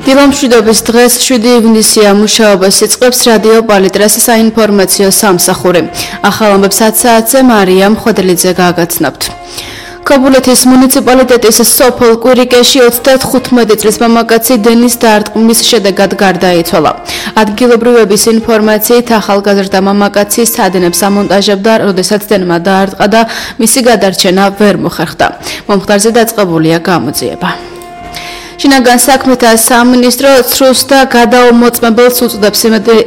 დილამშვიდობის დღეს 7 ივნისია მუშაობას იწყებს რადიო პალიტრას საინფორმაციო სამსახური. ახალ ამბებს 10 საათზე მარია მხვედლიძე გააგაცნობთ. ქობულეთის მუნიციპალიტეტის სოფელ კვირიკეში 35 წლის მამაკაცი დენის დარტყმის შედეგად გარდაიცვალა. ადგილობრივების ინფორმაციით ახალგაზრდა მამაკაცი სადენებს ამონტაჟებდა, როდესაც დენმა დაარტყა და მისი გადარჩენა ვერ მოხერხდა. მომხდარზე დაწყებულია გამოძიება. შინაგან საქმეთა სამინისტრო ცრუს და გადაუმოწმებელს უწოდებს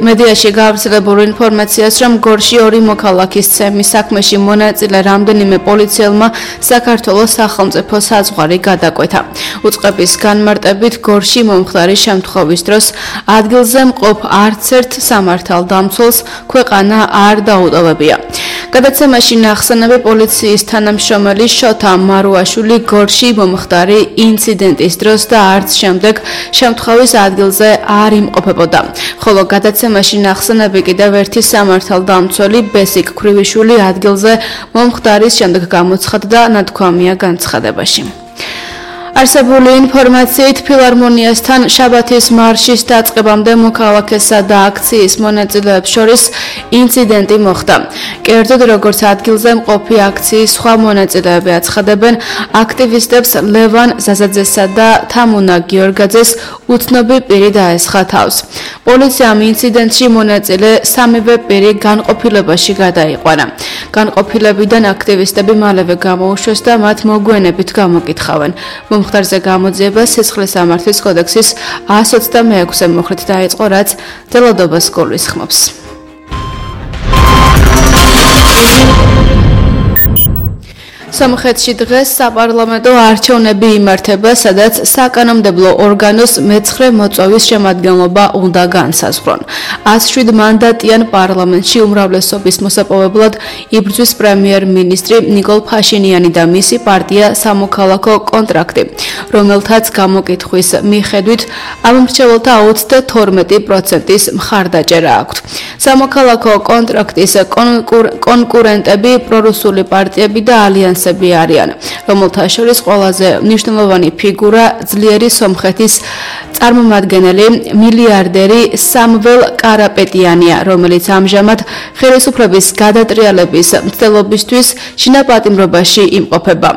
მედიაში გავრცელებულ ინფორმაციას, რომ გორში 2 მოქალაქის ცემის საქმეში მონაწილე რამდენიმე პოლიციელმა საქართველოს სახელმწიფო საზღვარი გადაკვეთა. უწყების განმარტებით გორში მომხდარის შემთხვევის დროს ადგილზე მყოფ არც ერთ სამართალდამცველს ქვეყანა არ დაუტოვებია. გადაცემაში ნახსენები პოლიციის თანამშრომელი შოთა მარუაშვილი გორში მომხდარი ინციდენტის დროს და არც შემდეგ შემთხვევის ადგილზე არ იმყოფებოდა. ხოლო გადაცემაში ნახსენები კიდევ ერთი სამართალდამცველი ბესიკ ქრივიშვილი ადგილზე მომხდარის შემდეგ გამოცხადდა ნათქვამია განცხადებაში. არსებული ინფორმაციით ფილარმონიასთან შაბათის მარშის დაწყებამდე მოქალაქესა და აქციის მონაწილეებს შორის ინციდენტი მოხდა. კერძოდ, როგორც ადგილზე მყოფი აქციის სხვა მონაწილეები აცხადებენ, აქტივისტებს ლევან ზაზაძესა და თამუნა გიორგაძეს უცნობი პირი დაესხა თავს. პოლიციამ ინციდენტში მონაწილე სამივე პირი განყოფილებაში გადაიყვანა. განყოფილებიდან აქტივისტები მალევე გამოუშვეს და მათ მოგვიანებით გამოკითხავენ. მომხდარზე გამოძიება სისხლის სამართლის კოდექსის 126 მოხრით დაიწყო, რაც ძალადობას გულისხმობს. სომხეთში დღეს საპარლამენტო არჩევნები იმართება, სადაც საკანონმდებლო ორგანოს მე-9 მოწვევის შემადგენლობა უნდა განსაზღვრონ. 107 მანდატიან პარლამენტში უმრავლესობის მოსაპოვებლად იბრძვის პრემიერ-მინისტრი ნიკოლ ფაშინიანი და მისი პარტია სამოქალაქო კონტრაქტი, რომელთაც გამოკითხვის მიხედვით ამ მრჩეველთა 32%-ის მხარდაჭერა აქვთ. სამოქალაქო კონტრაქტის კონკურენტები პრორუსული პარტიები და ალიანსები არიან, რომელთა შორის ყველაზე მნიშვნელოვანი ფიგურა ძლიერი სომხეთის წარმომადგენელი მილიარდერი სამվել კარაპეტიანია, რომელიც ამჟამად ხელისუფლების გადატრიალების მცდელობისთვის შინაპატიმრობაში იმყოფება.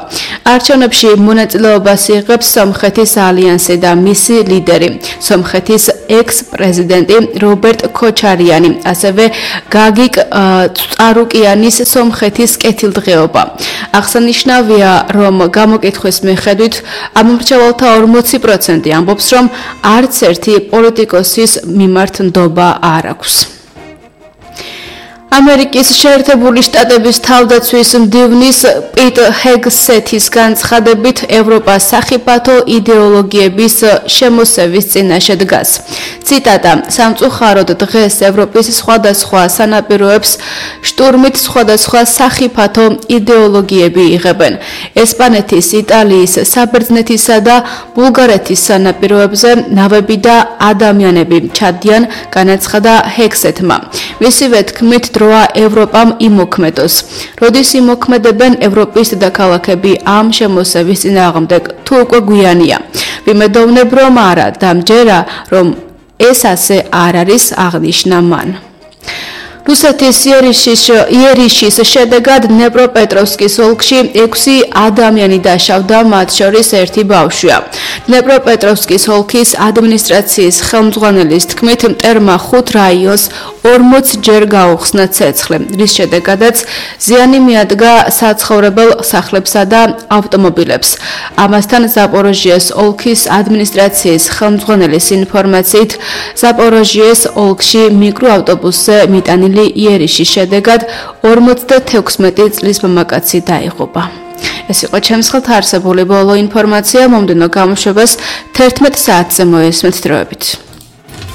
არჩევნებში მონაწილეობას იღებს სომხეთის ალიანსი და მისი ლიდერი, სომხეთის ექს-პრეზიდენტი რობერტ ქოჩარიანი, ასევე გაგიკ წარუკიანის სომხეთის კეთილდღეობა. აღსანიშნავია, რომ გამოკითხვის მიხედვით ამ მრჩეველთა 40% ამბობს, რომ არც ერთი პოლიტიკოსის მიმართ ნდობა არ აქვს. ამერიკის შეერთებული შტატების თავდაცვის მდივნის პიტ ჰეგსეთის განცხადებით ევროპა სახიფათო იდეოლოგიების შემოსევის წინაშე დგას. ციტატა: სამწუხაროდ დღეს ევროპის სხვადასხვა სანაპიროებს შტურმით სხვადასხვა სახიფათო იდეოლოგიები იღებენ. ესპანეთის, იტალიის, საბერძნეთისა და ბულგარეთის სანაპიროებზე ნავები და ადამიანები ჩადიან, განაცხადა ჰეგსეთმა. მისივე თქმით, დროა ევროპამ იმოქმედოს. როდის იმოქმედებენ ევროპის დედაქალაქები ამ შემოსევის წინააღმდეგ, თუ უკვე გვიანია. ვიმედოვნებ, რომ არა და მჯერა, რომ ეს ასე არ არის, აღნიშნა მან. რუსეთის იერიშის შედეგად დნეპროპეტროვსკის ოლქში 6 ადამიანი დაშავდა, მათ შორის 1 ბავშვია. დნეპროპეტროვსკის ოლქის ადმინისტრაციის ხელმძღვანელის თქმით, მტერმა 5 რაიონს 40 ჯერ გაუხსნა ცეცხლი, რის შედეგადაც ზიანი მიადგა საცხოვრებელ სახლებსა და ავტომობილებს. ამასთან ზაპოროჟიეს ოლქის ადმინისტრაციის ხელმძღვანელის ინფორმაციით, ზაპოროჟიეს ოლქში მიკროავტობუსზე მიტანილი იერიშის შედეგად 56 წლის მამაკაცი დაიღუპა. ეს იყო ჩემს ხელთ არსებული ბოლო ინფორმაცია, მომდევნო გამოშვებას 11 საათზე მოესმენთ დროებით.